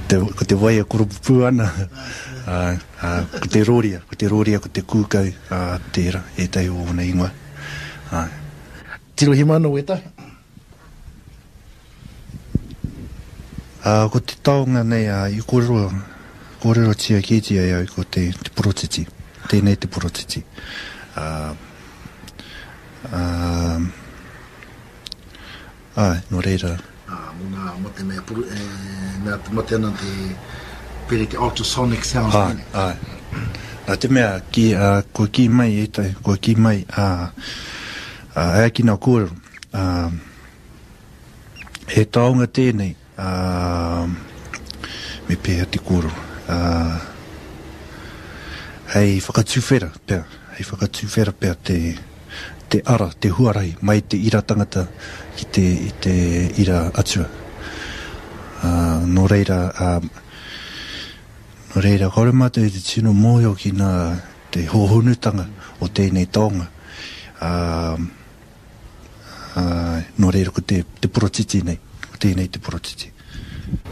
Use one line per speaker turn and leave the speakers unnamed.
Te, ko te wai e koropupū ana, ā, ā, ko te rōria, ko te rōria, ko te kūkau, ā, tērā, ētahi o ōna ingoa. Āe.
Tirohia mai anō wētahi.
Ā, ko te taonga nei, ā, i kōrero, kōrerotia kētia e au ko te, te porotiti. Tēnei te porotiti. Ā, ā, Āe, nō reira.
Ā, mō ngā, mō te mea puru, e, mea te mate ana te, pērā i te ultrasonic sounds
Āe, tēnei. āe. Nā te mea, ki, ā, kua kī mai ētahi, kua kī mai, ā, ā, e ai ki ngā kōrero, ā, he taonga tēnei, ā, me pēhea te kōrero, ā, hei whakatuwhera pea, hei whakatuwhera pea te, te ara, te huarahi mai te ira tangata ki te, i te ira atua. Ā, nō reira, ā, nō reira, kāore mātou i te tino mōhio ki ngā, te hōhonutanga o tēnei taonga. Ā, ā, nō reira ko te, te porotiti nei, ko tēnei te porotiti.